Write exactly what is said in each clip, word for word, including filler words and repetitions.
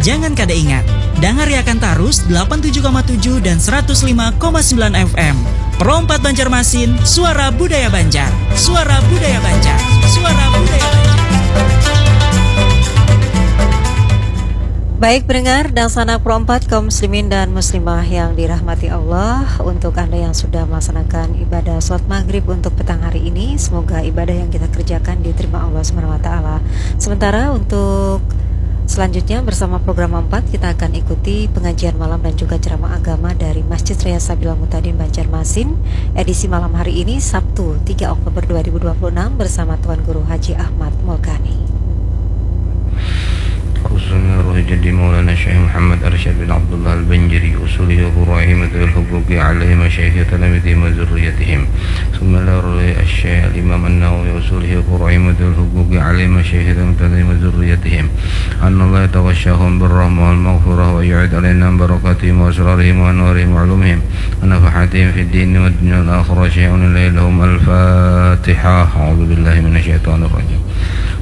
Jangan kada ingat, dangariakan tarus delapan tujuh koma tujuh dan seratus lima koma sembilan F M. Pro empat Banjarmasin, suara budaya Banjar. Suara budaya Banjar. Suara budaya Banjar. Baik pendengar dan sanak Pro empat kaum muslimin dan muslimah yang dirahmati Allah, untuk Anda yang sudah melaksanakan ibadah salat maghrib untuk petang hari ini, semoga ibadah yang kita kerjakan diterima Allah Subhanahu wa taala. Sementara untuk selanjutnya bersama program empat kita akan ikuti pengajian malam dan juga ceramah agama dari Masjid Raya Sabila Mutadin Banjarmasin, edisi malam hari ini Sabtu tiga Oktober dua ribu dua puluh enam bersama Tuan Guru Haji Ahmad Mulkani. Khususnya Ruh Jadi Maulana Syekh Muhammad Arsyad bin Abdullah Al-Banjari, usulihi wa furu'ihi wa dhawil huquqi alaihim wa syaikhina wa talamidihim wa zurriyatihim. Summa ila ruhi Asy-Syaikh Al-Imam An-Nawawi, usulihi wa furu'ihi wa dhawil huquqi alaihim wa syaikhina wa talamidihim wa zurriyatihim. Annallaha yataghashahum birrahmah wal maghfirah wa yu'id alaina barakatihim wa asrarihim wa anwarihim wa ulumihim wa nafahatihim fid dini wad dunya wal akhirah. Syai'un lillahi lahum. Al-Fatihah. A'udzu billahi minasy syaithanir rajim.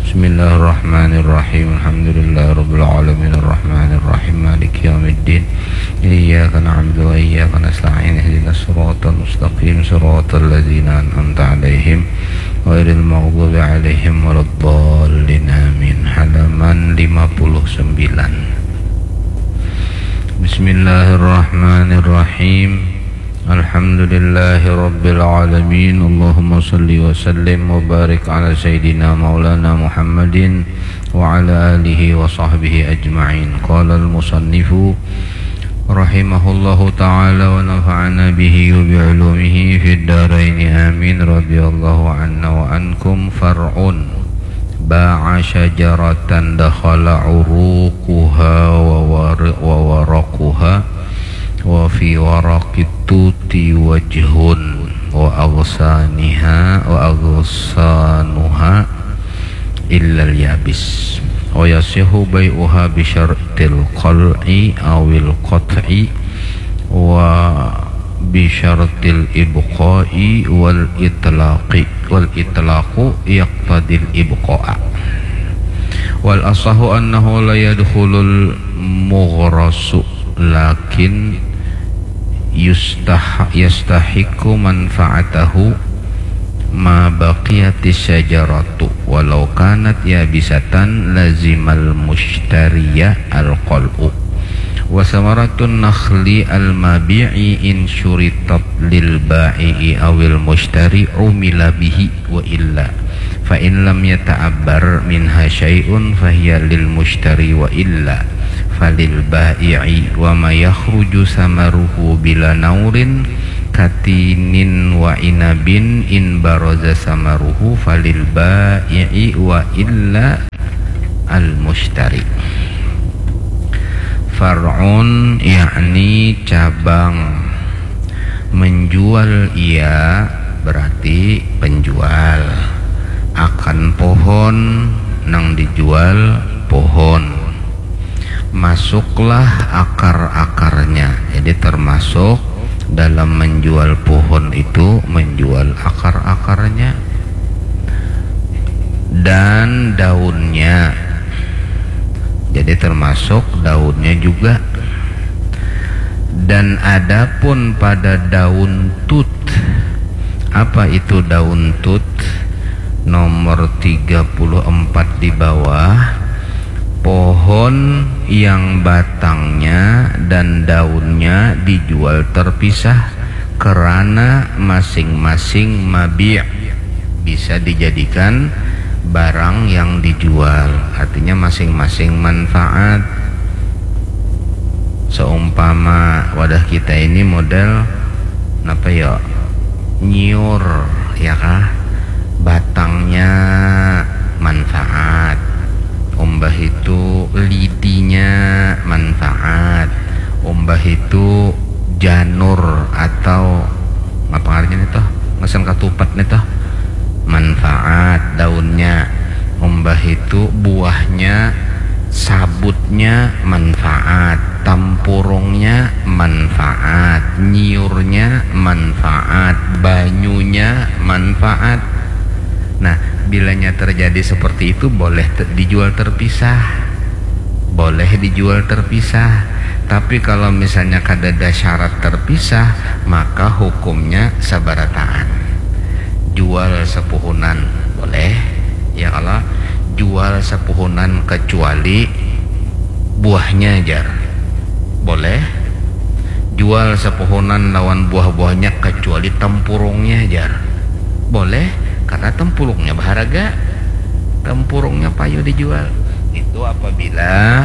Bismillahirrahmanirrahim. Alhamdulillahirabbil alamin. Arrahmanirrahim. Maliki yaumiddin. Iyyaka na'budu wa iyyaka nasta'in. Ihdinas siratal mustaqim. Siratal ladzina an'amta 'alaihim ghairil maghdubi 'alaihim waladdallin. Amin. Halaman lima puluh sembilan. Bismillahirrahmanirrahim. Alhamdulillahirabbil alamin. Allahumma shalli wa sallim wa barik ala sayyidina maulana Muhammadin wa ala alihi wa sahbihi ajma'in. Qala al-musannifu rahimahullahu ta'ala wa nafa'ana bihi wa bi ulumihi fid daraini amin. Radhiyallahu anna wa ankum. Far'un. Ba'a syajaratan dakhala uruquha wa wari-, wa waraquha wa fi waraqit tuti wajhun wa aghsaniha wa aghsanuha illal yabis. Wa yasihu bai'uha bi syartil qal'i awil qat'i wa bi syartil ibqa'i wal itlaqi, wal itlaqu yaqtadil ibqa'a. Wal asahu annahu la yadkhulul mughrasu, lakin yustah-, yastahiqqu manfa'atahu ma baqiyatis syajaratu walau kanat yabisatan lazimal mushtariya al qal'u. Wa samaratun nakhli al mabi'i in syuritat lil ba'i'i awil mushtari umila bihi wa illa. Fa in lam yata'abbar minha syai'un fahiya lil mushtari wa illa falil ba'i'i. Wa ma yakhruju samaruhu bila naurin katinin wa inabin in baraza samaruhu falil ba'i'i wa illa al mushtari. Far'un yakni cabang. Menjual ia berarti penjual. Akan pohon nang dijual pohon. Masuklah akar-akarnya. Jadi termasuk dalam menjual pohon itu menjual akar-akarnya dan daunnya. Jadi termasuk daunnya juga. Dan adapun pada daun tut, apa itu daun tut? Nomor tiga puluh empat di bawah, pohon yang batangnya dan daunnya dijual terpisah kerana masing-masing mabi' bisa dijadikan barang yang dijual, artinya masing-masing manfaat. Seumpama wadah kita ini model napa ya, nyiur, ya kah? Batangnya manfaat, umbah itu lidinya manfaat, umbah itu janur atau apa ngarannya nih toh, mesen katupat nih toh, manfaat daunnya, umbah itu buahnya, sabutnya manfaat, tampurungnya manfaat, nyiurnya manfaat, banyunya manfaat. Nah, bilanya terjadi seperti itu, boleh te-, dijual terpisah. boleh dijual terpisah. Tapi kalau misalnya kadada syarat terpisah, maka hukumnya sabarataan. Jual sepuhunan boleh, ya kalau jual sepuhunan kecuali buahnya jar. Boleh. Jual sepuhunan lawan buah-buahnya kecuali tempurungnya jar. Boleh, karena tempurungnya berharga. Tempurungnya payu dijual. Itu apabila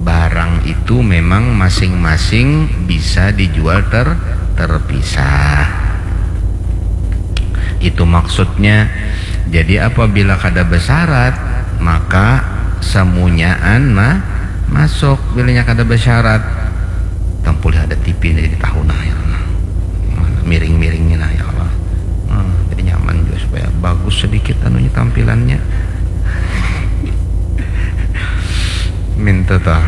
barang itu memang masing-masing bisa dijual ter terpisah. Itu maksudnya. Jadi apabila kada bersyarat, maka semunyaan mah masuk. Bilanya kada bersyarat, tampulih ada T V ini di tahu nah ya Allah. Miring-miringnya nah ya Allah. Hmm, jadi nyaman juga supaya bagus sedikit anunya tampilannya. Minta tah.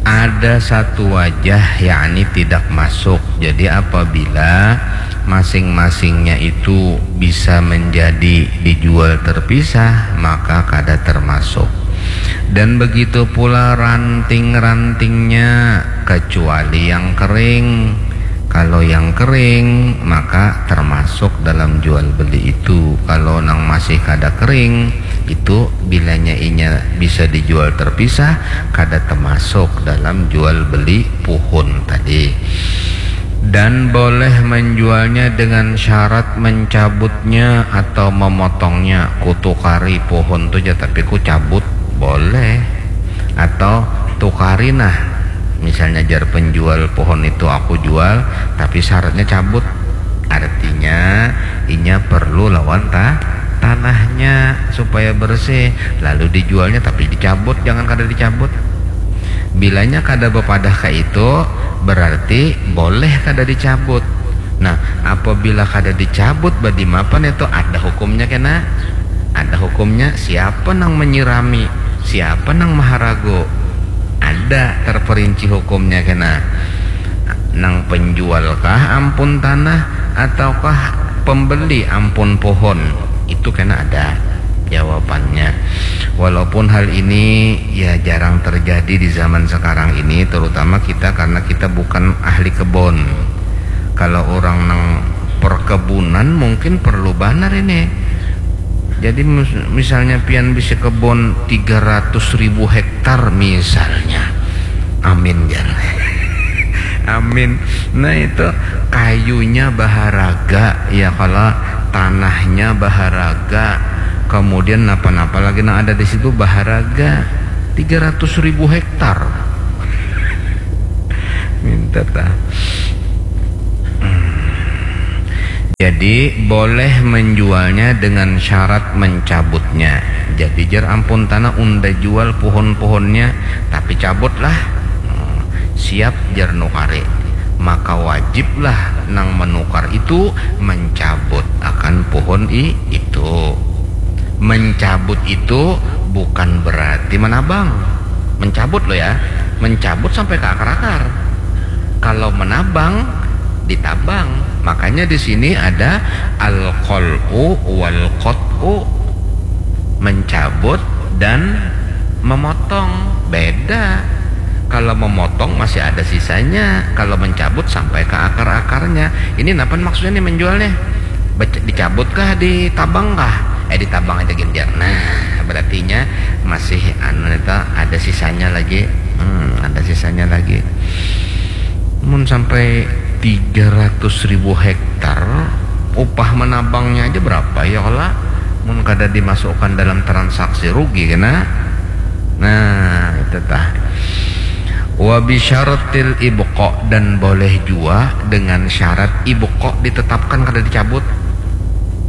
Ada satu wajah yakni tidak masuk. Jadi apabila masing-masingnya itu bisa menjadi dijual terpisah, maka kada termasuk. Dan begitu pula ranting-rantingnya, kecuali yang kering. Kalau yang kering, maka termasuk dalam jual beli itu. Kalau nang masih kada kering, itu bilanya inya bisa dijual terpisah, kada termasuk dalam jual beli puhun tadi. Dan boleh menjualnya dengan syarat mencabutnya atau memotongnya. Ku tukari puhun tu ja, tapi ku cabut, boleh. Atau tukari nah, misalnya jar penjual puhun itu, aku jual, tapi syaratnya cabut. Artinya inya perlu lawan ta tanahnya supaya bersih, lalu dijualnya tapi dicabut, jangan kada dicabut. Bilanya kada bepadah ka itu, berarti boleh kada dicabut. Nah, apabila kada dicabut, badimapan itu ada hukumnya kena? Ada hukumnya. Siapa nang menyirami? Siapa nang maharagu? Ada terperinci hukumnya kena. Nang penjual kah ampun tanah ataukah pembeli ampun pohon? Itu kena ada jawabannya. Walaupun hal ini ya jarang terjadi di zaman sekarang ini, terutama kita karena kita bukan ahli kebun. Kalau orang nang perkebunan mungkin perlu banar ini. Jadi mis- misalnya pian bisa kebun tiga ratus ribu hektar misalnya. Amin jar. Amin. Nah itu kayunya baharaga ya kalau tanahnya baharaga. Kemudian napa-napa lagi nang ada di situ baharaga. Tiga ratus ribu hektar. Minta tah. Hmm. Jadi boleh menjualnya dengan syarat mencabutnya. Jadi jar ampun tanah unda jual pohon-pohonnya, tapi cabutlah. Hmm, siap jar nukari. Maka wajiblah nang menukar itu mencabut akan pohon i itu. Mencabut itu bukan berarti menabang. Mencabut lo ya, mencabut sampai ke akar-akar. Kalau menabang, ditabang. Makanya di sini ada al-qal'u wal qat'u. Mencabut dan memotong. Beda. Kalau memotong masih ada sisanya. Kalau mencabut sampai ke akar-akarnya. Ini napa maksudnya nih menjualnya? Bec- Dicabutkah, ditabangkah? Eh, ditabang aja gin jar. Nah, berartinya masih anu itu ada sisanya lagi. Hmm, ada sisanya lagi. Mun sampai tiga ratus ribu hektar, upah menabangnya aja berapa ya kala? Mun kada dimasukkan dalam transaksi rugi kena. Nah, itu tah. Wa bisyartil ibqa, dan boleh jua dengan syarat ibqa ditetapkan kada dicabut.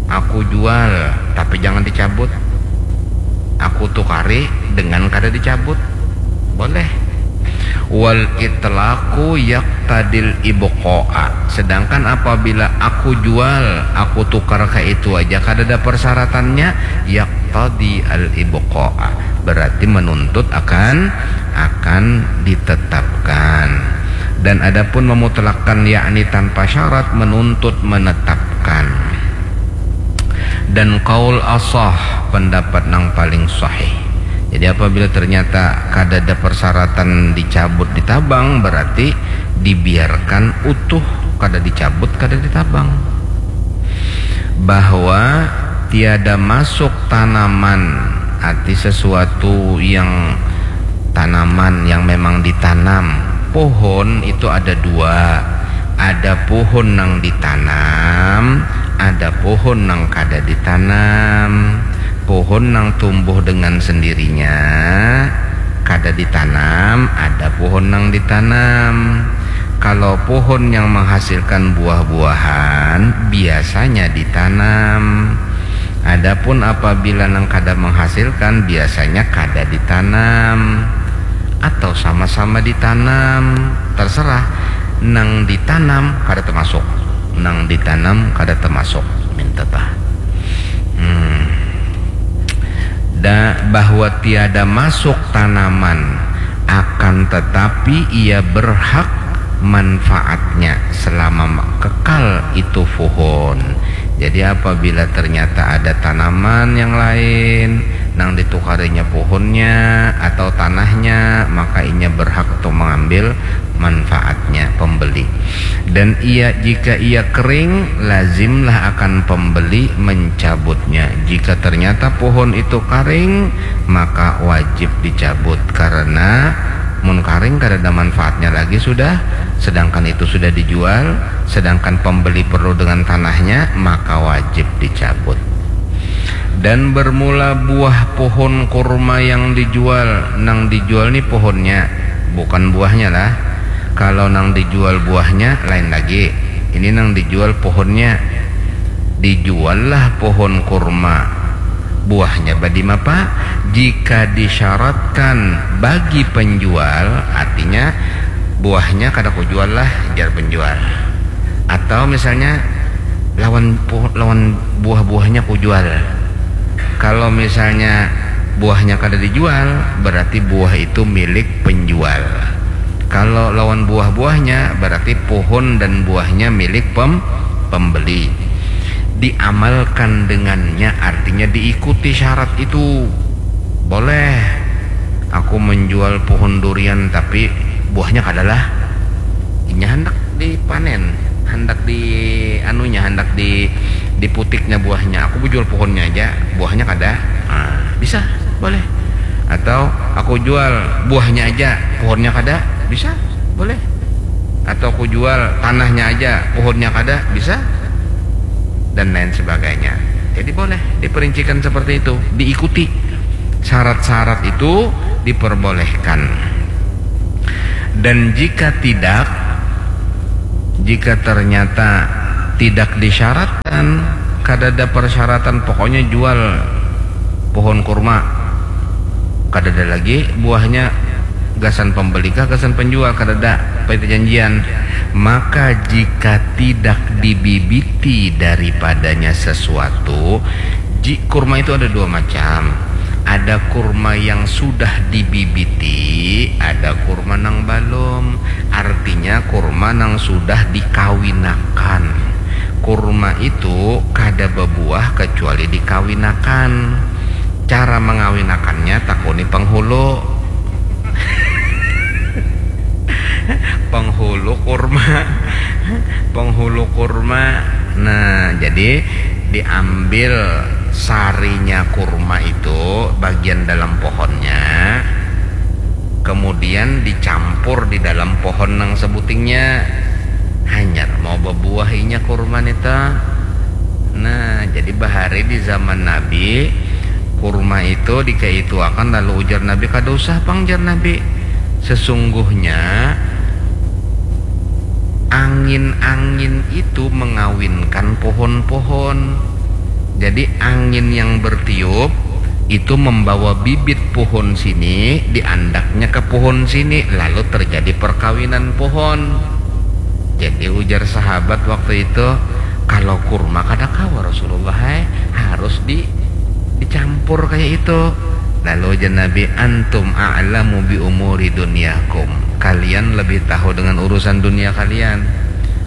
Aku jual, tapi jangan dicabut. Aku tukari dengan kada dicabut. Boleh. Wal itlaqu yaqtadil ibqa'a. Sedangkan apabila aku jual, aku tukar ka itu aja kadada persyaratannya, yaqtadi al ibqa'a. Berarti menuntut akan akan ditetapkan. Dan adapun memutlakkan yakni tanpa syarat menuntut menetapkan. Dan qaul asah, pendapat nang paling sahih. Jadi apabila ternyata kadada persyaratan dicabut ditabang, berarti dibiarkan utuh, kada dicabut, kada ditabang. Bahwa tiada masuk tanaman, arti sesuatu yang tanaman yang memang ditanam. Pohon itu ada dua, ada pohon nang ditanam, ada pohon nang kada ditanam. Pohon nang tumbuh dengan sendirinya, kada ditanam, ada pohon nang ditanam. Kalau pohon yang menghasilkan buah-buahan, biasanya ditanam. Adapun apabila nang kada menghasilkan, biasanya kada ditanam. Atau sama-sama ditanam, terserah. Nang ditanam kada termasuk, nang ditanam kada termasuk. Minta tah. Hmm. Da, bahwa tiada masuk tanaman, akan tetapi ia berhak manfaatnya selama kekal itu pohon. Jadi apabila ternyata ada tanaman yang lain nang ditukarinya pohonnya atau tanahnya, maka inya berhak untuk mengambil manfaatnya pembeli. Dan ia, jika ia kering, lazimlah akan pembeli mencabutnya. Jika ternyata pohon itu karing, maka wajib dicabut, karena mun karing kada ada manfaatnya lagi sudah, sedangkan itu sudah dijual, sedangkan pembeli perlu dengan tanahnya, maka wajib dicabut. Dan bermula buah pohon kurma yang dijual, nang dijual ni pohonnya, bukan buahnya lah. Kalau nang dijual buahnya, lain lagi. Ini nang dijual pohonnya. Dijuallah pohon kurma. Buahnya badima, Pak? Jika disyaratkan bagi penjual, artinya buahnya kada kujual lah, jar penjual. Atau misalnya lawan lawan buah-buahnya kujual. Kalau misalnya buahnya kada dijual, berarti buah itu milik penjual. Kalau lawan buah-buahnya, berarti pohon dan buahnya milik pem pembeli. Diamalkan dengannya, artinya diikuti syarat itu. Boleh aku menjual pohon durian, tapi buahnya kadalah. Inya hendak dipanen, hendak di anunya, hendak di diputiknya buahnya. Aku jual pohonnya aja, buahnya kada. Nah, bisa, boleh. Atau aku jual buahnya aja, pohonnya kada, bisa, boleh. Atau aku jual tanahnya aja, pohonnya kada, bisa, dan lain sebagainya. Jadi boleh diperincikan seperti itu, diikuti syarat-syarat itu, diperbolehkan. Dan jika tidak, jika ternyata tidak disyaratkan, kada ada persyaratan, pokoknya jual pohon kurma, kada ada lagi buahnya, gasan pembeli kah, gasan penjual, kada ada perjanjian. Maka jika tidak dibibiti daripadanya sesuatu, ji, kurma itu ada dua macam. Ada kurma yang sudah dibibiti, ada kurma nang balum. Artinya kurma nang sudah dikawinakan. Kurma itu kada babuah kecuali dikawinakan. Cara mengawinakannya, takuni penghulu. Penghulu kurma. Penghulu kurma. Nah, jadi diambil sarinya kurma itu, bagian dalam pohonnya, kemudian dicampur di dalam pohon nang sebutingnya. Hanyar mau babuah inya kurma nita. Nah, jadi bahari di zaman Nabi, kurma itu dikaituakan, lalu ujar Nabi, "Kada usah pang," jar Nabi. "Sesungguhnya angin-angin itu mengawinkan pohon-pohon. Jadi angin yang bertiup itu membawa bibit pohon sini, diandaknya ke pohon sini, lalu terjadi perkawinan pohon." Jadi ujar sahabat waktu itu, "Kalau kurma kada kawa, Rasulullah, hai, harus di dicampur kayak itu." Lalu ujar Nabi, "Antum a'lamu bi umuri dunyakum." Kalian lebih tahu dengan urusan dunia kalian.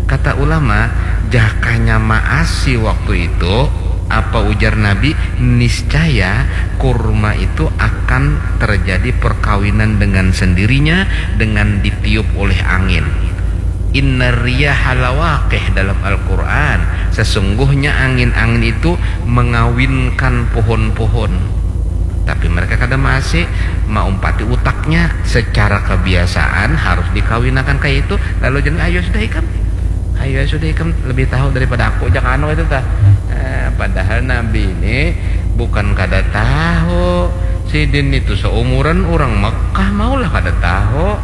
Kata ulama, jakanya maasi waktu itu, apa Ujar Nabi, niscaya kurma itu akan terjadi perkawinan dengan sendirinya dengan ditiup oleh angin. Inna riyaha lawaqih dalam Al-Quran. Sesungguhnya angin-angin itu mengawinkan pohon-pohon. Tapi mereka kada maasi, maumpati utaknya. Secara kebiasaan harus dikawinakan kayak itu. Lalu jangan, ayo sudah ikam. Ayo sudah ikam lebih tahu daripada aku, jak anu itu tah. Eh, padahal Nabi ini bukan kada tahu. Sidin itu seumuran orang Mekah, maulah kada tahu.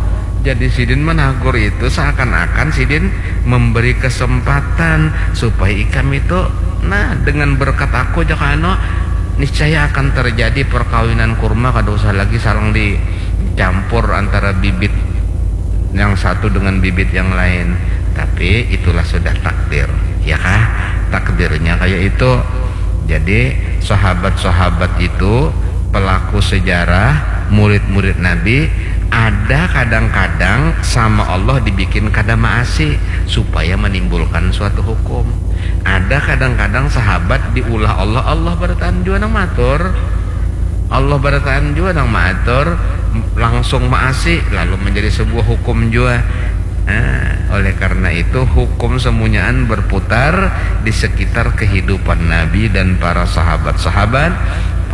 Jadi sidin menagur itu seakan-akan sidin memberi kesempatan supaya ikam itu, nah, dengan berkat aku, jak anu, niscaya akan terjadi perkawinan kurma, kada usah lagi salang dicampur antara bibit yang satu dengan bibit yang lain. Tapi itulah sudah takdir, ya kah? Takdirnya kayak itu. Jadi sahabat-sahabat itu, pelaku sejarah, murid-murid Nabi, ada kadang-kadang sama Allah dibikin kada maasi supaya menimbulkan suatu hukum. Ada kadang-kadang sahabat diulah Allah, Allah barataan jua nang matur. Allah barataan jua nang maatur, langsung maasi, lalu menjadi sebuah hukum jua. Nah, oleh karena itu, hukum semunyaan berputar di sekitar kehidupan Nabi dan para sahabat-sahabat,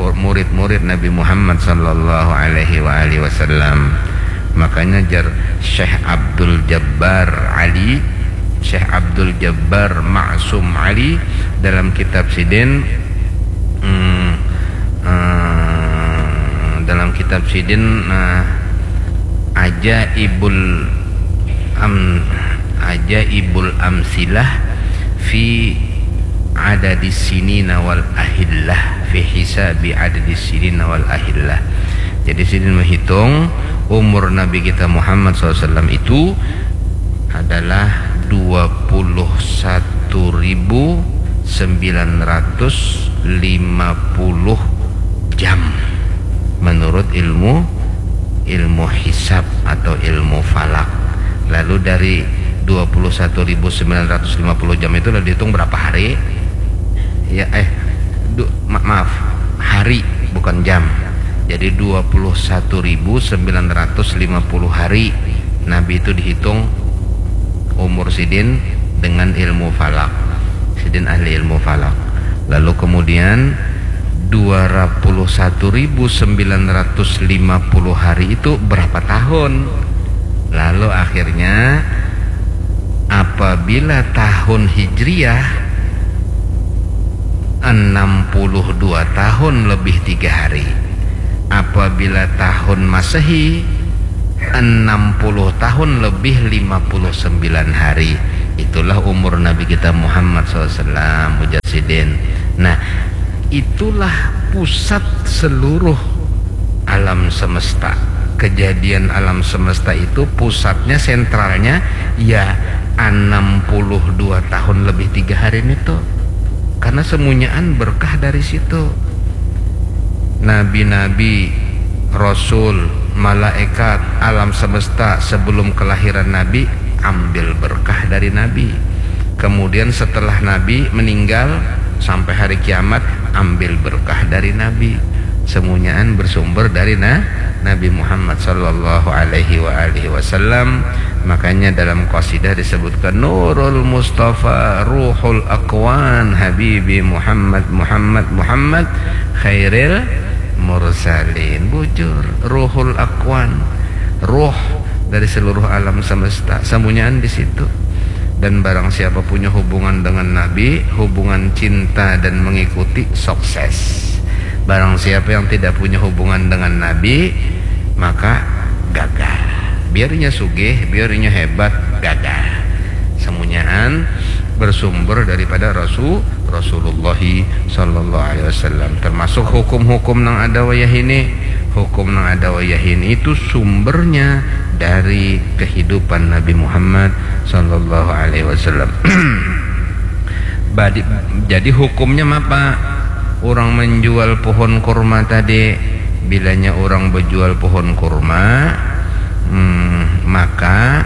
murid-murid Nabi Muhammad sallallahu alaihi wa alihi wasallam. Makanya jar Syekh Abdul Jabbar Ali, Syekh Abdul Jabbar Ma'sum Ali, dalam kitab sidin, hmm, eh, dalam kitab sidin, nah, Ajaibul Am Ajaibul Amsilah fi Adadis Sinina wal Ahillah, fi hisabi Adadis Sinina wal Ahillah. Jadi sidin menghitung umur Nabi kita Muhammad sallallahu alaihi wasallam itu adalah dua puluh satu ribu sembilan ratus lima puluh jam menurut ilmu ilmu hisab atau ilmu falak. Lalu dari dua puluh satu ribu sembilan ratus lima puluh jam itu lalu dihitung berapa hari? Ya, eh, du, ma- maaf, hari, bukan jam. Jadi dua puluh satu ribu sembilan ratus lima puluh hari Nabi itu dihitung umur sidin dengan ilmu falak. Sidin ahli ilmu falak. Lalu kemudian dua puluh satu ribu sembilan ratus lima puluh hari itu berapa tahun? Lalu akhirnya apabila tahun Hijriah enam puluh dua tahun lebih tiga hari. Apabila tahun Masehi enam puluh tahun lebih lima puluh sembilan hari. Itulah umur Nabi kita Muhammad sallallahu alaihi wasallam, ujar sidin. Nah, itulah pusat seluruh alam semesta. Kejadian alam semesta itu pusatnya, sentralnya, ya enam puluh dua tahun lebih tiga hari ini tuh. Karena semunyaan berkah dari situ. Nabi-nabi, rasul, malaikat, alam semesta sebelum kelahiran Nabi ambil berkah dari Nabi. Kemudian setelah Nabi meninggal sampai hari kiamat, ambil berkah dari Nabi. Semunyaan bersumber dari na Nabi Muhammad sallallahu alaihi wa alihi wasallam. Makanya dalam qasidah disebutkan Nurul Mustafa Ruhul Akwan Habibi Muhammad Muhammad Muhammad Khairil Mursalin. Bujur, Ruhul Akwan, ruh dari seluruh alam semesta, semunyaan di situ. Dan barang siapa punya hubungan dengan Nabi, hubungan cinta dan mengikuti, sukses. Barang siapa yang tidak punya hubungan dengan Nabi, maka gagal. Biarnya sugih, biarnya hebat, gagal. Semunyaan bersumber daripada Rasul Rasulullah sallallahu alaihi wasallam. Termasuk hukum-hukum nang ada wayah ini, hukum nang ada wayah ini itu sumbernya dari kehidupan Nabi Muhammad sallallahu alaihi wasallam. Badi- jadi hukumnya apa? Orang menjual pohon kurma tadi, bilanya orang berjual pohon kurma, hmm, maka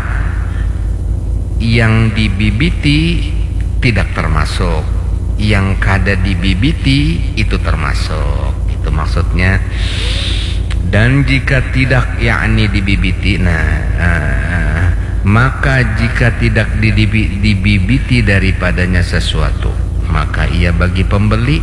yang dibibiti tidak termasuk. yang kada dibibiti itu termasuk. Itu maksudnya. Dan jika tidak, yakni dibibiti, nah, eh, maka jika tidak didibi-, dibibiti daripadanya sesuatu, maka ia bagi pembeli.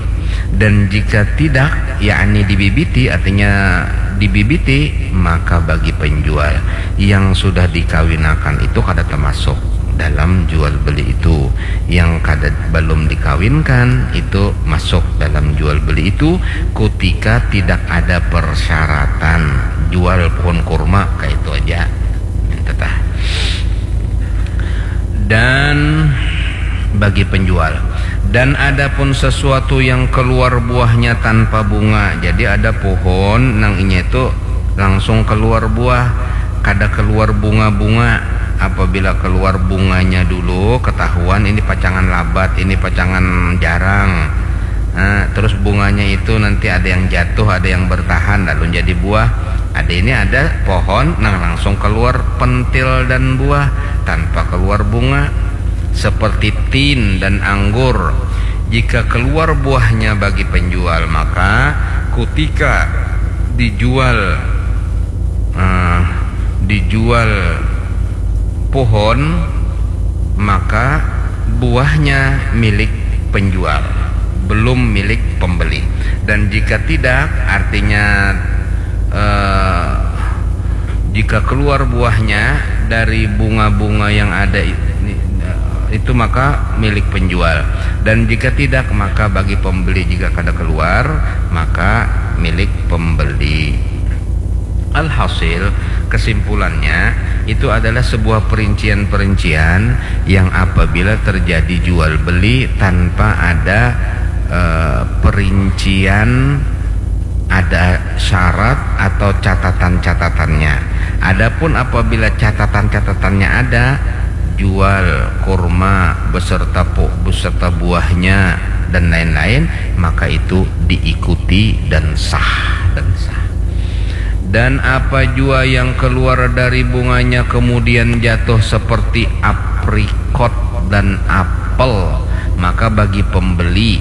Dan jika tidak, yakni dibibiti, artinya dibibiti, maka bagi penjual. Yang sudah dikawinakan itu kada termasuk dalam jual beli itu. Yang kada, belum dikawinkan itu masuk dalam jual beli itu, kutika tidak ada persyaratan. Jual pohon kurma, kayak itu aja. Tetah. Dan bagi penjual. Dan adapun sesuatu yang keluar buahnya tanpa bunga, jadi ada pohon nang inya itu langsung keluar buah, kada keluar bunga-bunga. Apabila keluar bunganya dulu, ketahuan ini pacangan labat, ini pacangan jarang. Nah, terus bunganya itu nanti ada yang jatuh, ada yang bertahan, lalu jadi buah. Ada ini, ada pohon nang langsung keluar pentil dan buah tanpa keluar bunga, seperti tin dan anggur. Jika keluar buahnya bagi penjual, maka kutika dijual, eh, dijual pohon, maka buahnya milik penjual, belum milik pembeli. Dan jika tidak, artinya, eh, jika keluar buahnya dari bunga-bunga yang ada i-, itu, maka milik penjual. Dan jika tidak, maka bagi pembeli. Jika kada keluar, maka milik pembeli. Alhasil, kesimpulannya, itu adalah sebuah perincian-perincian yang apabila terjadi jual beli tanpa ada, eh, perincian, ada syarat atau catatan-catatannya. Adapun apabila catatan-catatannya ada, jual kurma beserta pu-, beserta buahnya dan lain-lain, maka itu diikuti dan sah, dan sah. Dan apa jua yang keluar dari bunganya kemudian jatuh seperti aprikot dan apel, maka bagi pembeli,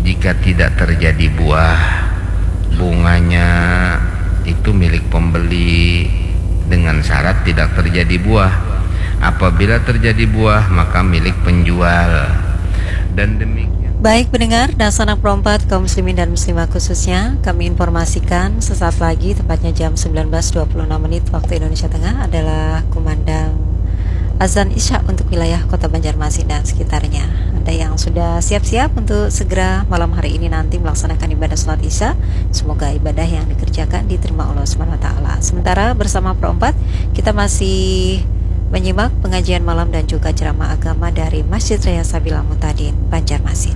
jika tidak terjadi buah, bunganya itu milik pembeli dengan syarat tidak terjadi buah. Apabila terjadi buah, maka milik penjual. Dan demikian. Baik pendengar, dan sanak perompat kaum muslimin dan muslimah khususnya, kami informasikan sesaat lagi, tepatnya jam sembilan belas dua puluh enam menit waktu Indonesia Tengah, adalah kumandang azan Isya untuk wilayah Kota Banjarmasin dan sekitarnya. Anda yang sudah siap-siap untuk segera malam hari ini nanti melaksanakan ibadah salat Isya, semoga ibadah yang dikerjakan diterima Allah Subhanahu wa Ta'ala. Sementara bersama perompat, kita masih menyimak pengajian malam dan juga ceramah agama dari Masjid Raya Sabila Mutadin, Banjarmasin.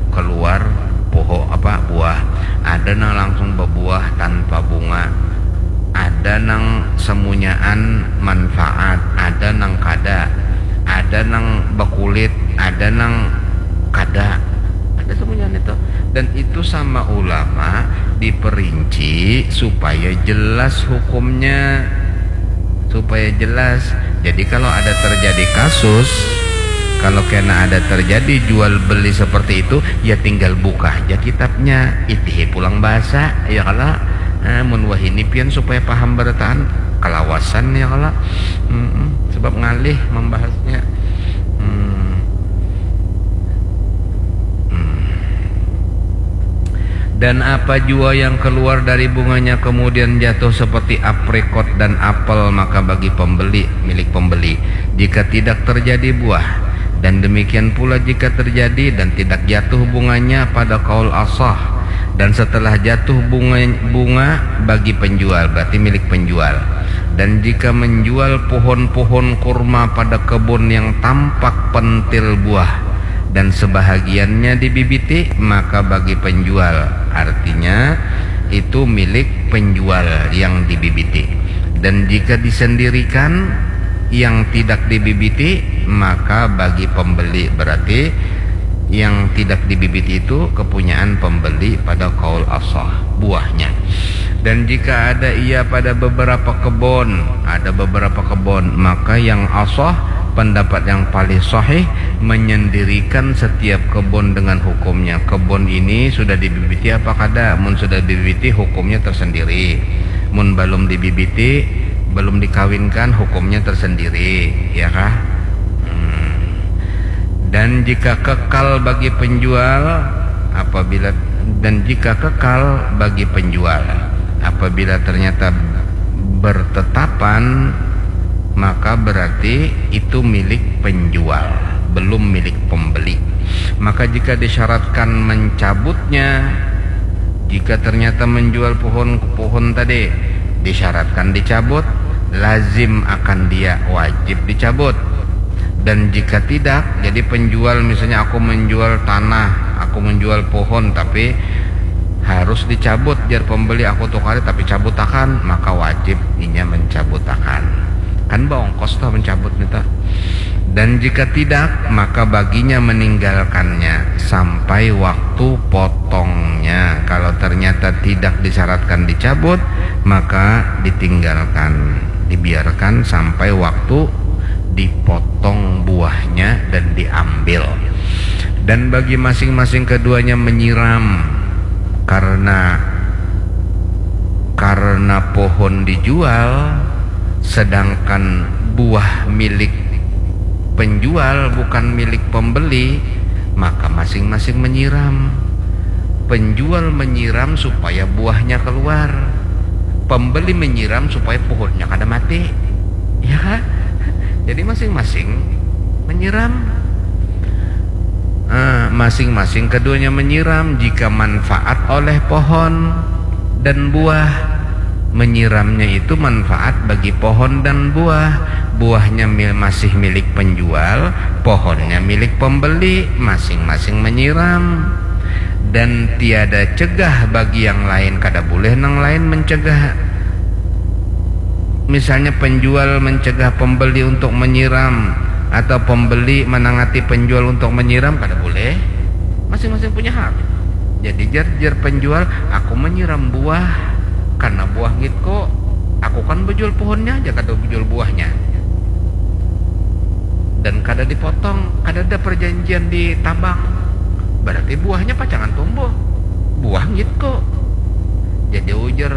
Keluar pohon apa, buah. Ada nang langsung berbuah tanpa bunga. Ada nang semunyaan manfaat, ada nang kada. Ada nang bekulit, ada nang kada. Ada semunyaan itu. Dan itu sama ulama diperinci supaya jelas hukumnya. Supaya jelas. Jadi kalau ada terjadi kasus, kalau kena ada terjadi jual beli seperti itu, ya tinggal buka aja kitabnya, itihi pulang bahasa, ya kalau, nah, mun wahini pian supaya paham berataan, kalawasan ya kalau, mm-mm. Sebab ngalih membahasnya. Hmm. Hmm. Dan apa jua yang keluar dari bunganya kemudian jatuh seperti aprikot dan apel, maka bagi pembeli, milik pembeli. Jika tidak terjadi buah, dan demikian pula jika terjadi dan tidak jatuh bunganya pada kaul asah, dan setelah jatuh bunga, bunga bagi penjual, berarti milik penjual. Dan jika menjual pohon-pohon kurma pada kebun yang tampak pentil buah, dan sebahagiannya dibibiti, maka bagi penjual, artinya itu milik penjual yang dibibiti. Dan jika disendirikan, yang tidak dibibiti, maka bagi pembeli, berarti yang tidak dibibiti itu kepunyaan pembeli pada kaul asah, buahnya. Dan jika ada ia pada beberapa kebun, ada beberapa kebun, maka yang asah Pendapat yang paling sahih menyendirikan setiap kebun dengan hukumnya. Kebun ini sudah dibibiti apa kada? Mun sudah dibibiti, hukumnya tersendiri. Mun belum dibibiti, belum dikawinkan, hukumnya tersendiri, ya kah? Hmm. Dan jika kekal bagi penjual, apabila dan jika kekal bagi penjual, apabila ternyata bertetapan, maka berarti itu milik penjual, belum milik pembeli. Maka jika disyaratkan mencabutnya, jika ternyata menjual pohon pohon tadi disyaratkan dicabut, lazim akan dia, wajib dicabut. Dan jika tidak, jadi penjual, misalnya aku menjual tanah, aku menjual pohon, tapi harus dicabut, jar pembeli, aku tukari tapi cabutakan, maka wajib inya mencabutakan. Kan baongkos toh mencabut nih toh. Dan jika tidak, maka baginya meninggalkannya sampai waktu potongnya. Kalau ternyata tidak disyaratkan dicabut, maka ditinggalkan, dibiarkan sampai waktu dipotong buahnya dan diambil. Dan bagi masing-masing keduanya menyiram karena karena pohon dijual, sedangkan buah milik penjual bukan milik pembeli, maka masing-masing menyiram. Penjual menyiram supaya buahnya keluar. Pembeli menyiram supaya pohonnya kada mati. Ya, jadi masing-masing menyiram. Eh, masing-masing keduanya menyiram jika manfaat oleh pohon dan buah. Menyiramnya itu manfaat bagi pohon dan buah. Buahnya mil- masih milik penjual, pohonnya milik pembeli, masing-masing menyiram. Dan tiada cegah bagi yang lain, kada boleh nang lain mencegah. Misalnya penjual mencegah pembeli untuk menyiram atau pembeli menangati penjual untuk menyiram, kada boleh. Masing-masing punya hak. Jadi jar jar penjual, aku menyiram buah karena buah ngitko. Aku kan bejual pohonnya aja, kada bejual buahnya. Dan kada dipotong, kada ada perjanjian di tabang. Berarti buahnya pacangan tumbuh. Buah ngitko. Jadi ujar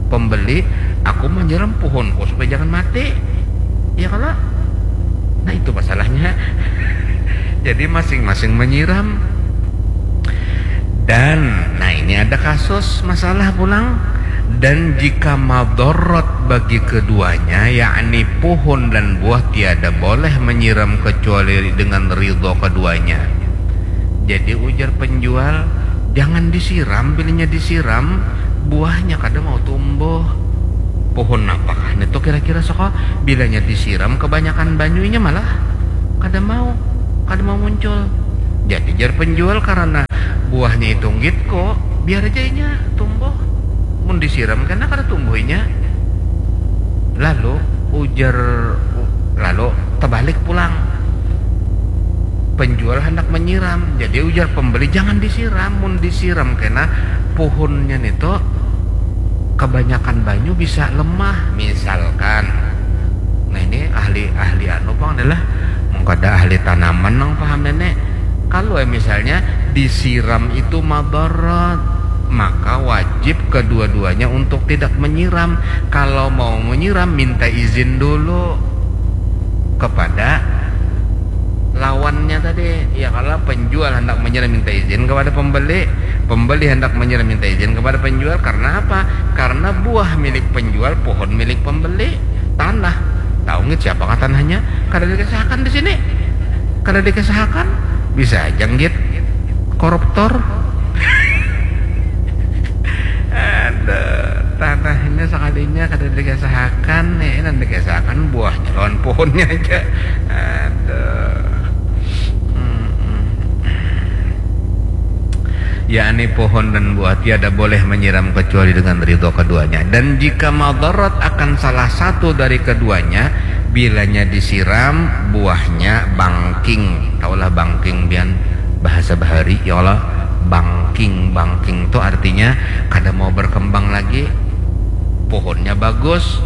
pembeli, aku menyiram pohonku supaya jangan mati. Ya kalau? Nah, itu masalahnya. Jadi masing-masing menyiram. Dan nah, ini ada kasus masalah pulang. Dan jika madorot bagi keduanya, yakni pohon dan buah, tiada boleh menyiram kecuali dengan ridho keduanya. Jadi ujar penjual, jangan disiram, bilanya disiram buahnya kada mau tumbuh. Pohon apakah itu kira-kira soko? Bilanya disiram kebanyakan banyunya malah kada mau, kada mau muncul. Jadi jar penjual, karena buahnya itu ngitko, biar aja inya tumbuh. Mun disiram kena kada tumbuh inya. Lalu ujar, lalu terbalik pulang. Penjual hendak menyiram, jadi ujar pembeli, jangan disiram. Mun disiram kena pohonnya nito kebanyakan banyu bisa lemah, misalkan. Nah, ini ahli ahli anu pang adalah mengkada ahli tanaman nang paham nenek. Kalau misalnya disiram itu madarat, maka wajib kedua-duanya untuk tidak menyiram. Kalau mau menyiram, minta izin dulu kepada lawannya tadi. Ya, kalau penjual hendak menyiram, minta izin kepada pembeli, pembeli hendak menyiram, minta izin kepada penjual. Karena apa? Karena buah milik penjual, pohon milik pembeli, tanah. Tahu nggak siapakah tanahnya? Kada dikesahakan di sini. Kada dikesahakan, bisa aja nggit koruptor. Ada tanahnya sekalinya kada dikesahakan, ya, ini dikesahakan buahnya lawan pohonnya aja. Ada. Yakni pohon dan buah tiada boleh menyiram kecuali dengan ridho keduanya. Dan jika madarat akan salah satu dari keduanya, bilanya disiram, buahnya bangking. Taulah bangking, bian bahasa bahari, ya Allah, bangking. Bangking itu artinya kada mau berkembang lagi. Pohonnya bagus,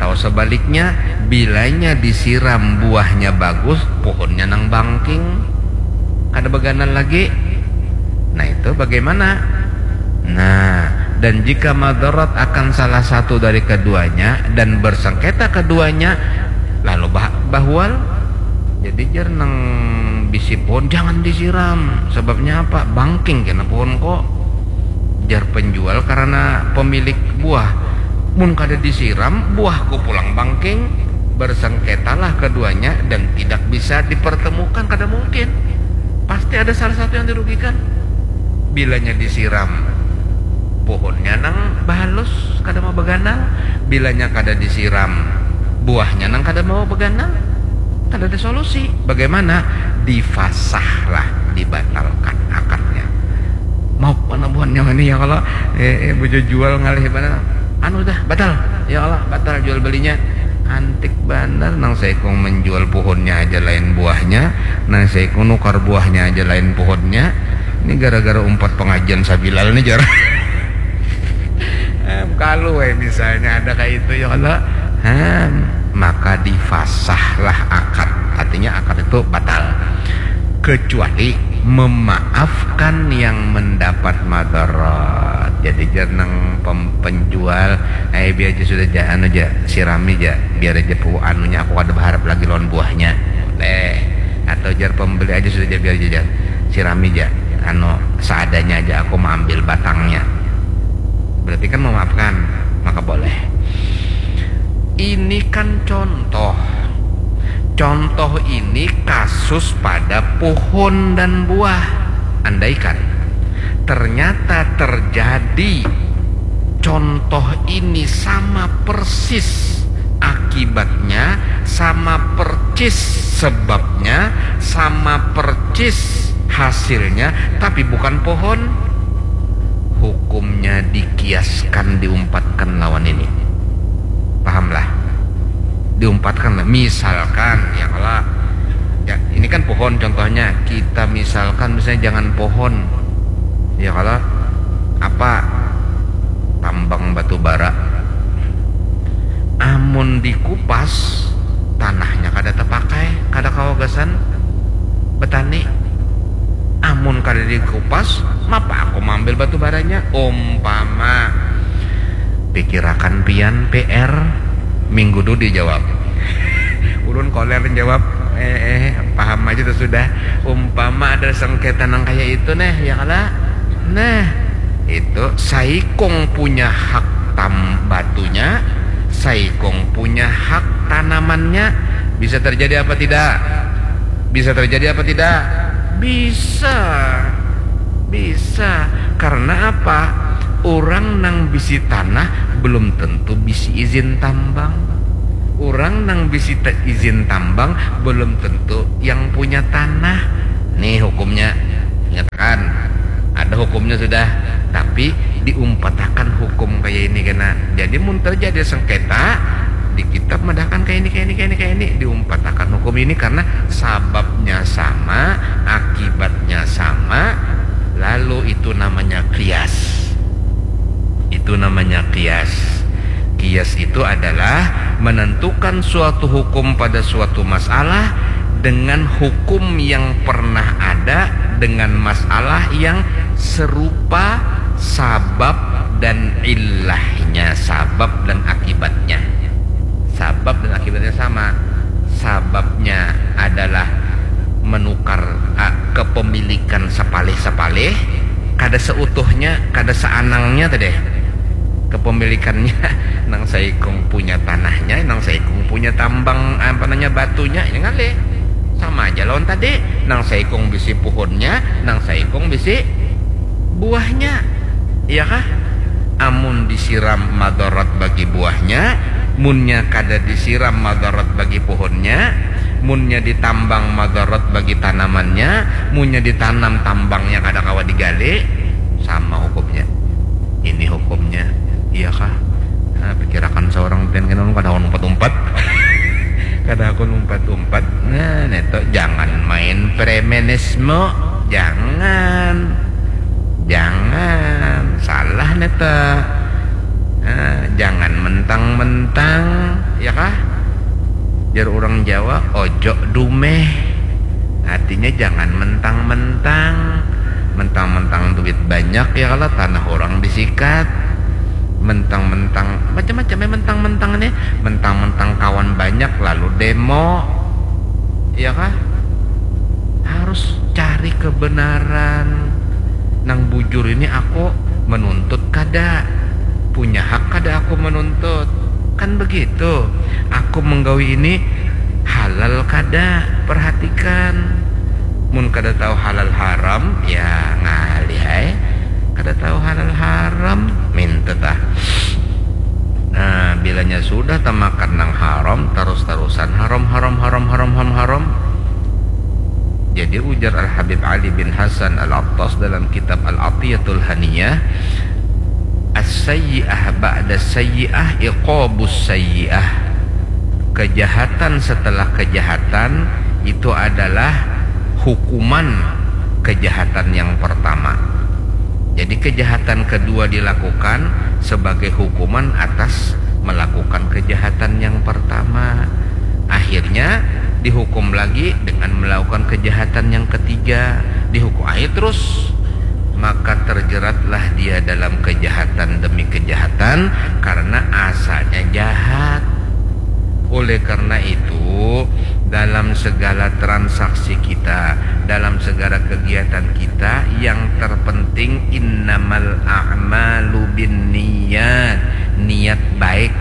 Atau sebaliknya, bilanya disiram buahnya bagus, pohonnya nang bangking, kada beganal lagi. Nah, itu bagaimana? Nah, dan jika madarat akan salah satu dari keduanya dan bersengketa keduanya, lalu bah bahwal. Jadi jar nang bisi pohon, jangan disiram. Sebabnya apa? Bangking kena pohon ko. Jar penjual karena pemilik buah. Mun kada disiram, buahku pulang bangking. Bersengketalah keduanya dan tidak bisa dipertemukan, kada mungkin. Pasti ada salah satu yang dirugikan. Bilanya disiram, pohonnya nang bahalus kada mau beganal. Bilanya kada disiram, buahnya nang kada mau beganal. Kada ada solusi. Bagaimana? Difasah lah, dibatalkan akadnya. Mau mana buhannya ini ya kalau eh, eh, bujo jual ngalih mana? Anu dah, batal. Ya Allah, batal jual belinya. Antik banar, nang saikung menjual pohonnya aja lain buahnya, nang saikung nukar buahnya aja lain pohonnya. Ini gara-gara umpat pengajian sabilal nih jar. Em, kalau eh, misalnya ada kayak itu ya Allah, em, maka difasahlah akad. Artinya akad itu batal. Kecuali memaafkan yang mendapat madarat. Jadi jar nang pem- penjual, eh biar aja sudah ja, anu ja, sirami ja, biar aja pu anunya, aku kada berharap lagi lawan buahnya. Boleh. Atau jar pembeli aja sudah ja, biar aja ja, sirami ja, anu, seadanya aja, aku mengambil batangnya. Berarti kan memaafkan, maka boleh. Ini kan contoh. Contoh ini kasus pada pohon dan buah. Andaikan ternyata terjadi contoh ini sama persis akibatnya, sama persis sebabnya, sama persis hasilnya, tapi bukan pohon, hukumnya dikiaskan, diumpatkan lawan ini. Pahamlah? Diumpatkan lah. Misalkan, ya kalau ya, ini kan pohon contohnya, kita misalkan misalnya jangan pohon, ya kalau apa, tambang batu bara. Amun dikupas, tanahnya kada terpakai, kada kawa gasan betani. Amun kada dikupas, mapa aku mambil batu baranya? Umpama, pikirakan pian P R, minggu tu dijawab. Ulun koler jawab, eh, eh, paham aja tu sudah. Umpama ada sengketa nang kayak itu, nah, ya kala? Nah, itu saikung punya hak tam batunya, saikung punya hak tanamannya. Bisa terjadi apa tidak? Bisa terjadi apa tidak? Bisa. Bisa. Karena apa? Orang nang bisi tanah belum tentu bisi izin tambang. Orang nang bisi izin tambang belum tentu yang punya tanah. Nih hukumnya. Nyatakan. Ada hukumnya sudah. Tapi diumpatakan hukum kayak ini kena. Jadi mun terjadi sengketa, di kitab madahkan kayak ini, kayak ini, kayak ini, kayak ini, diumpatakan hukum ini karena sababnya sama, akibatnya sama, lalu itu namanya kias. Itu namanya kias. Kias itu adalah menentukan suatu hukum pada suatu masalah dengan hukum yang pernah ada dengan masalah yang serupa, sabab dan illahnya, sabab dan akibatnya. Sabab dan akibatnya sama. Sababnya adalah menukar, ah, kepemilikan sapalih-sapalih, kada seutuhnya, kada seanangnya tadi. Kepemilikannya nang saikung punya tanahnya, nang saikung punya tambang, apa namanya, batunya, ya ngalih. Sama aja lawan tadi, nang saikung bisi puhunnya, nang saikung bisi buahnya. Iya kah? Amun disiram madarat bagi buahnya, munnya kada disiram madarat bagi puhunnya, munnya ditambang madarat bagi tanamannya, munnya ditanam tambangnya kada kawa digali, sama hukumnya. Ini hukumnya, iya kah? Nah, pikirakan seorang pian kena kada akan umpat-umpat. Kada akan umpat-umpat. Nah, neto jangan main premanisme, jangan. Jangan, salah neto. Nah, jangan mentang mentang-mentang, ya kah? Jar orang Jawa, ojo dumeh. Artinya jangan mentang-mentang. Mentang-mentang duit banyak, ya kalau tanah orang disikat. Mentang-mentang, macam-macam ya mentang-mentang nih. Mentang-mentang kawan banyak lalu demo. Ya kah? Harus cari kebenaran. Nang bujur ini aku menuntut kada? Punya hak kada aku menuntut? Kan begitu. Aku menggawi ini halal kada? Perhatikan. Mun kada tahu halal haram, ya ngalih ai. Kada tahu halal haram, minta tah. Nah, bilanya sudah tamakan nang haram, tarus-tarusan haram, haram, haram, haram, haram, haram. Jadi ujar Al-Habib Ali bin Hasan Al-Attas dalam kitab Al-Atiyatul Haniyah, "As-sayyi'ah ba'da sayyi'ah iqabus sayyi'ah." Kejahatan setelah kejahatan itu adalah hukuman kejahatan yang pertama. Jadi kejahatan kedua dilakukan sebagai hukuman atas melakukan kejahatan yang pertama. Akhirnya dihukum lagi dengan melakukan kejahatan yang ketiga. Dihukum aja terus. Maka terjeratlah dia dalam kejahatan demi kejahatan karena asalnya jahat. Oleh karena itu, dalam segala transaksi kita, dalam segala kegiatan kita, yang terpenting innamal a'malu bin niat, niat baik.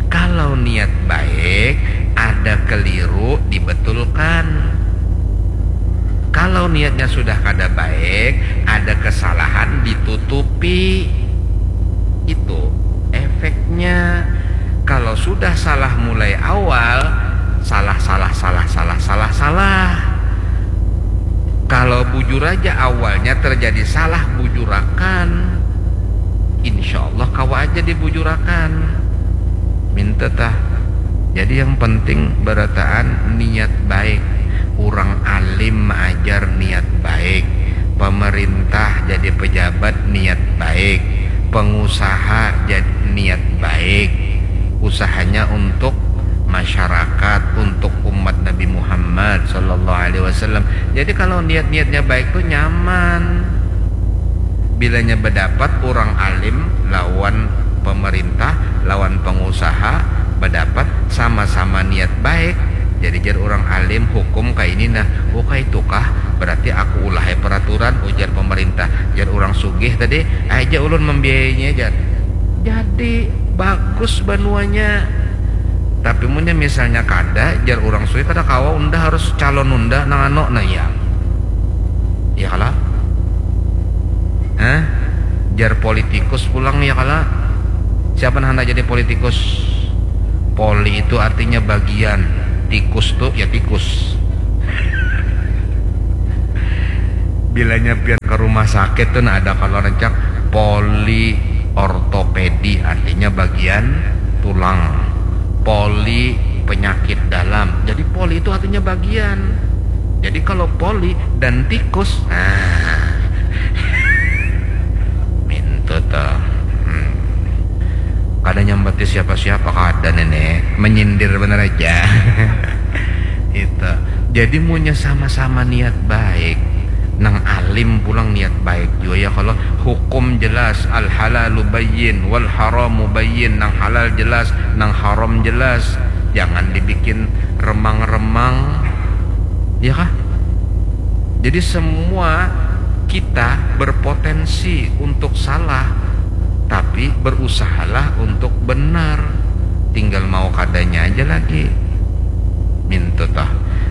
Kalau niat baik, ada keliru dibetulkan. Kalau niatnya sudah kada baik, ada kesalahan ditutupi. Itu efeknya. Kalau sudah salah mulai awal, salah, salah, salah, salah, salah, salah. Kalau bujur aja awalnya terjadi salah bujurakan, insya Allah kawa aja dibujurakan. Minta tah. Jadi yang penting berataan niat baik. Orang alim maajar niat baik. Pemerintah jadi pejabat niat baik. Pengusaha jadi niat baik. Usahanya untuk masyarakat, untuk umat Nabi Muhammad sallallahu alaihi wasallam. Jadi kalau niat-niatnya baik tuh nyaman. Bilanya bedapat orang alim lawan pemerintah, lawan pengusaha, bedapat sama-sama niat baik. Jadi jar orang alim hukum kayak ini nah, oh kayak itu kah? Berarti aku ulah ya peraturan, ujar pemerintah. Jar orang sugih tadi, aja ulun membiayainya jar. Jadi bagus banuanya. Tapi munnya misalnya kada, jar orang sugih kada kawa unda harus calon unda nang anu nah ya. Ya kala? Hah? Jar politikus pulang ya kala? Siapa nah hendak jadi politikus? Poli itu artinya bagian, tikus tuh ya tikus. Bilanya pian ke rumah sakit tuh nah ada kalau rencak poli ortopedi artinya bagian tulang. Poli penyakit dalam. Jadi poli itu artinya bagian. Jadi kalau poli dan tikus, nah, mintu tuh. Hmm. Kada nyambati siapa-siapa kada nenek, menyindir bener aja. Itu. Jadi munya sama-sama niat baik, nang alim pulang niat baik juga ya kalau hukum jelas, al halalu bayyin wal haramu bayyin, nang halal jelas, nang haram jelas, jangan dibikin remang-remang, ya kah? Jadi semua kita berpotensi untuk salah, tapi berusahalah untuk benar. Tinggal mau kadanya aja lagi. Mintu toh.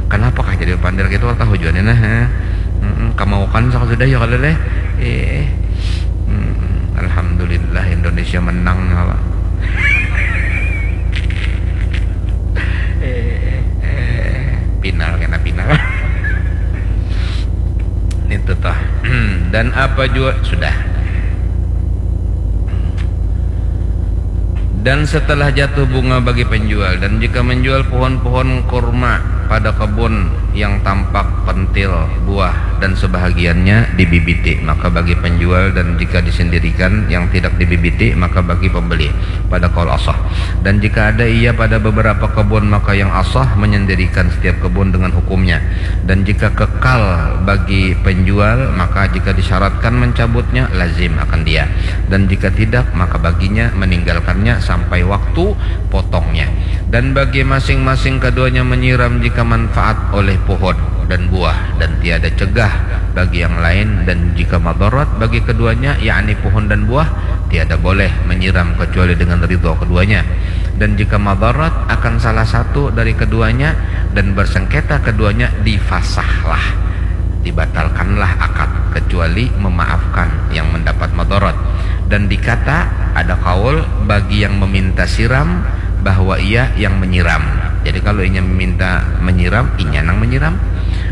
Kenapa kah jadi pandir gitu tahu juga nih nah. Kemaukan sudah ya kalau deh. Eh. Alhamdulillah Indonesia menang apa? Eh, eh, eh, pinal kena pinal. Itu toh. Dan apa juga sudah. Dan setelah jatuh bunga bagi penjual, dan jika menjual pohon-pohon kurma Pada kebun yang tampak pentil, buah, dan sebahagiannya dibibiti, maka bagi penjual, dan jika disendirikan yang tidak dibibiti, maka bagi pembeli, pada kaul asah. Dan jika ada ia pada beberapa kebun, maka yang asah menyendirikan setiap kebun dengan hukumnya. Dan jika kekal bagi penjual, maka jika disyaratkan mencabutnya, lazim akan dia. Dan jika tidak, maka baginya meninggalkannya sampai waktu potongnya. Dan bagi masing-masing keduanya menyiram jika manfaat oleh pohon dan buah, dan tiada cegah bagi yang lain, dan jika madarat bagi keduanya, yakni pohon dan buah, tiada boleh menyiram kecuali dengan ridha keduanya. Dan jika madarat akan salah satu dari keduanya dan bersengketa keduanya, difasahlah, dibatalkanlah akad, kecuali memaafkan yang mendapat madarat. Dan dikata, ada kaul bagi yang meminta siram, bahwa ia yang menyiram. Jadi kalau inya meminta menyiram, inya nang menyiram.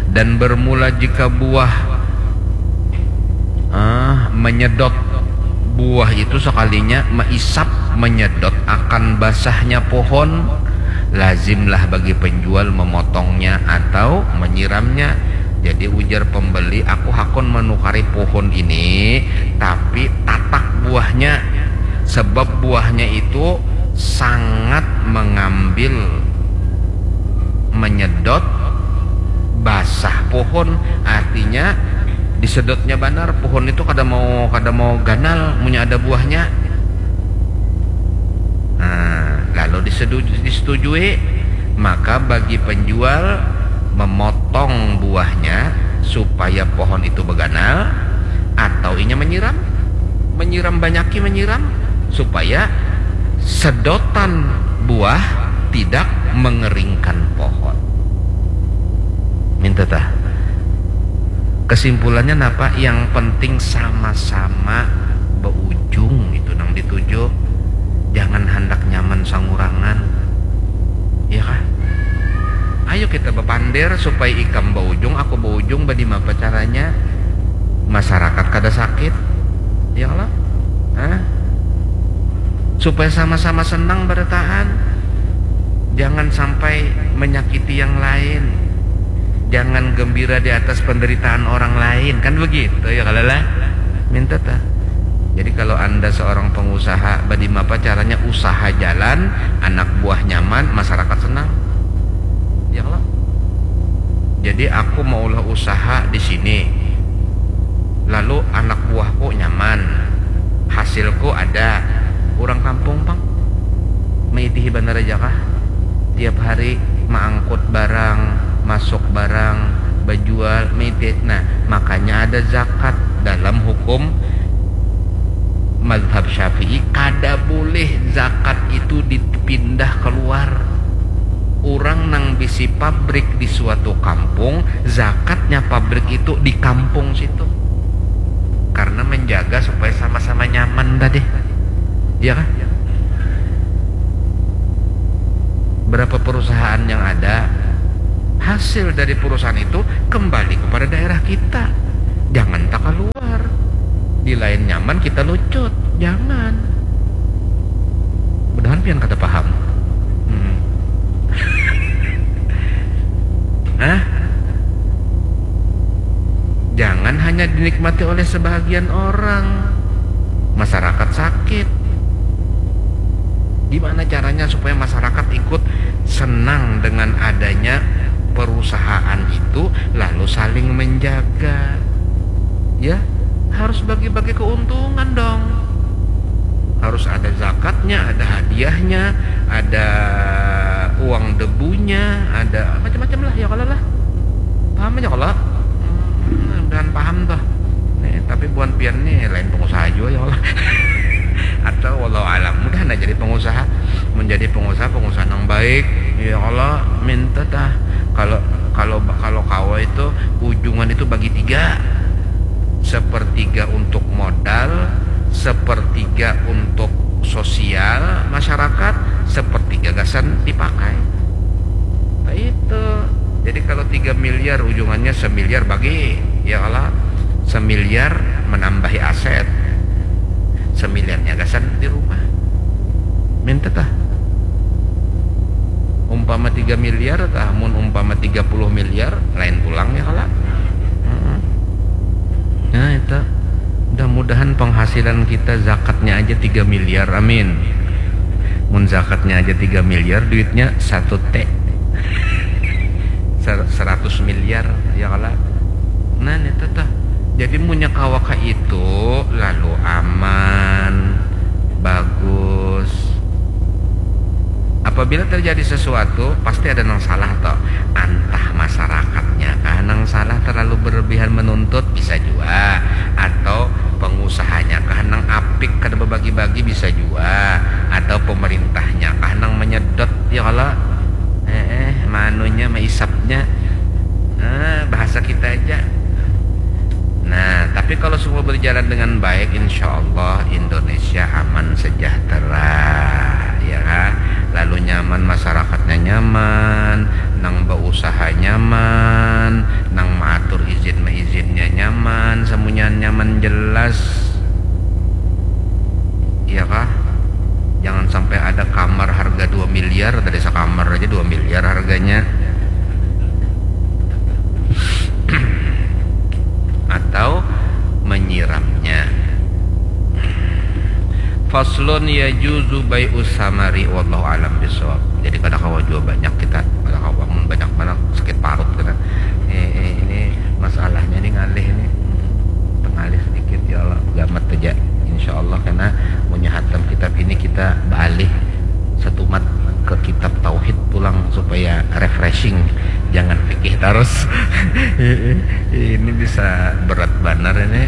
Dan bermula jika buah, ah, menyedot, buah itu sekalinya meisap, menyedot akan basahnya pohon, lazimlah bagi penjual memotongnya atau menyiramnya. Jadi ujar pembeli, aku hakun menukari pohon ini, tapi tatak buahnya, sebab buahnya itu sangat mengambil, menyedot basah pohon, artinya disedotnya banar, pohon itu kada mau, kada mau ganal munnya ada buahnya. Nah, lalu disedu-, disetujui, maka bagi penjual memotong buahnya supaya pohon itu beganal, atau inya menyiram, menyiram, banyaki menyiram supaya sedotan buah tidak mengeringkan pohon. Minta tah. Kesimpulannya napa? Yang penting sama-sama beujung itu nang dituju. Jangan handak nyaman sangurangan. Iya kah? Ayo kita bapander supaya ikam beujung, aku beujung, badimapa caranya? Masyarakat kada sakit. Iya kalo? Hah? Supaya sama-sama senang barataan. Jangan sampai menyakiti yang lain. Jangan gembira di atas penderitaan orang lain. Kan begitu ya kalo lah? Minta tah. Jadi kalau anda seorang pengusaha, badimapa caranya usaha jalan, anak buah nyaman, masyarakat senang. Ya kalo? Jadi aku maulah usaha di sini. Lalu anak buahku nyaman. Hasilku ada. Urang kampung pang. Maitihi banar aja kah? Tiap hari maangkut barang, masuk barang, bajual, maitihi. Nah, makanya ada zakat dalam hukum madhab Syafi'i, kada boleh zakat itu dipindah keluar. Urang nang bisi pabrik di suatu kampung, zakatnya pabrik itu di kampung situ. Karena menjaga supaya sama-sama nyaman tadi. Iya kah? Berapa perusahaan yang ada, hasil dari perusahaan itu kembali kepada daerah kita. Jangan tak keluar. Di lain nyaman kita lucut. Jangan. Mudahan pian kada paham. Hmm. Hah? Jangan hanya dinikmati oleh sebahagian orang. Masyarakat sakit. Gimana caranya supaya masyarakat ikut senang dengan adanya perusahaan itu, lalu saling menjaga? Ya, harus bagi-bagi keuntungan dong. Harus ada zakatnya, ada hadiahnya, ada uang debunya, ada macam-macam lah ya kalau lah. Paham aja kalau? Hmm, mudahan paham tuh. Nih, tapi buan pian nih lain pengusaha juga ya Allah. Atau walau alam, mudah anda jadi pengusaha, menjadi pengusaha, pengusaha yang baik. Ya Allah, minta tah. Kalau kalau kalau kawa itu ujungan itu bagi tiga, sepertiga untuk modal, sepertiga untuk sosial masyarakat, sepertiga gasan dipakai. Nah, itu. Jadi kalau tiga miliar ujungannya semiliar bagi, ya Allah, semiliar menambahi aset, semiliarnya gasan di rumah. Minta tah. Umpama tiga miliar tah, mun umpama tiga puluh miliar, lain pulang ya kala. Nah itu, mudah-mudahan penghasilan kita zakatnya aja tiga miliar, amin. Mun zakatnya aja tiga miliar, duitnya satu T, seratus miliar ya kala. Nah itu tuh, jadi munnya kawa ka itu, lalu aman, bagus. Apabila terjadi sesuatu, pasti ada nang salah toh. Antah masyarakatnya kah nang salah, terlalu berlebihan menuntut, bisa jua, atau pengusahanya kah nang apik kada bebagi-bagi, bisa jua, atau pemerintahnya kah nang menyedot ya kala. Eh, eh manunya, maisapnya, eh, bahasa kita aja. Nah, tapi kalau semua berjalan dengan baik, insya Allah Indonesia aman sejahtera, ya kan? Lalu nyaman, masyarakatnya nyaman, nang berusaha nyaman, nang mengatur izin meizinnya nyaman, semuanya nyaman jelas, ya kah? Jangan sampai ada kamar harga dua miliar, tadi sekamar aja dua miliar harganya. Atau menyiramnya. Faslun yajuzu bai'us samari, wallahu alam bisawab. Jadi kada kawa jua banyak kita, kada kawa mun banyak mana sakit parut kita. Eh, eh, ini masalahnya ini ngalih ini. Tengalih sedikit ya Allah, gamat aja. Insya Allah karena punya hatam kitab ini kita beralih setumat ke kitab tauhid pulang supaya refreshing, jangan fikih terus. Ini bisa berat banar ini.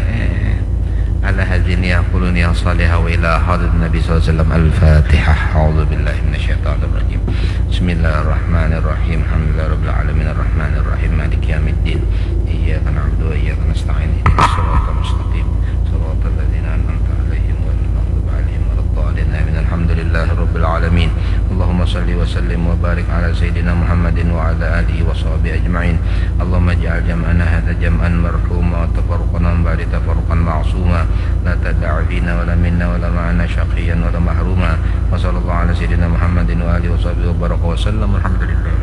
Ala hazini yaquluni ya salihah wa ila hadir Nabi sallallahu alaihi wasallam. Al-Fatihah. A'udzu billahi minasyaitonir rajim. Bismillahirrahmanirrahim. Alhamdulillahirabbil alamin arrahmanirrahim maliki yaumiddin. Iyyaka na'budu wa iyyaka nasta'in. Ihdinas siratal mustaqim. Siratal ladzina an'amta 'alaihim ghairil maghdubi 'alaihim waladdallin. Amin. Alhamdulillahirabbil alamin. Allahumma shalli wa sallim wa barik ala sayyidina Muhammadin wa ala alihi wa sahbihi ajma'in. Allahumma ij'al jam'ana hadza jam'an marhuma wa tafarruqana min ba'di tafarruqan ma'suma. La tada'a fina wa la minna wa la ma'ana syaqiyan wa la mahruma. Wa sallallahu ala sayyidina Muhammadin wa alihi wa sahbihi wa baraka wa sallam. Alhamdulillah.